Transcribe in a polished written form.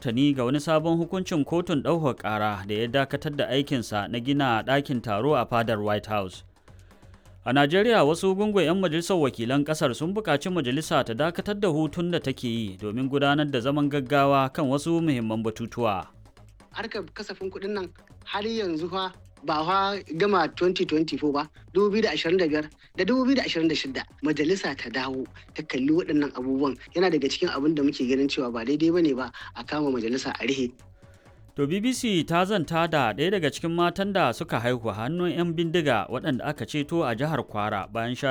martani ga wani sabon hukuncin kotun ɗaukar ƙara da ya dakatar da aikinsa na gina ɗakin taro a fadar White House. A Najeriya, wasu gungun 'yan majalisar wakilan ƙasar sun buƙaci majalisa ta dakatar da hutun da take yi domin gudanar da zaman gaggawa kan wasu muhimman batutuwa. Harkar kasafin kuɗin nan har yanzu fa ba fa gama 2024 ba, 2025 da 2026 majalisa ta dawo ta kalli waɗannan abubuwan. Yana daga cikin abin da muke ganin cewa ba daidai bane ba a kama majalisa a rihe. To, BBC ta zanta da ɗaya daga cikin matan da suka haihu hannun 'yan bindiga waɗanda aka ceto a jihar Kwara bayan sha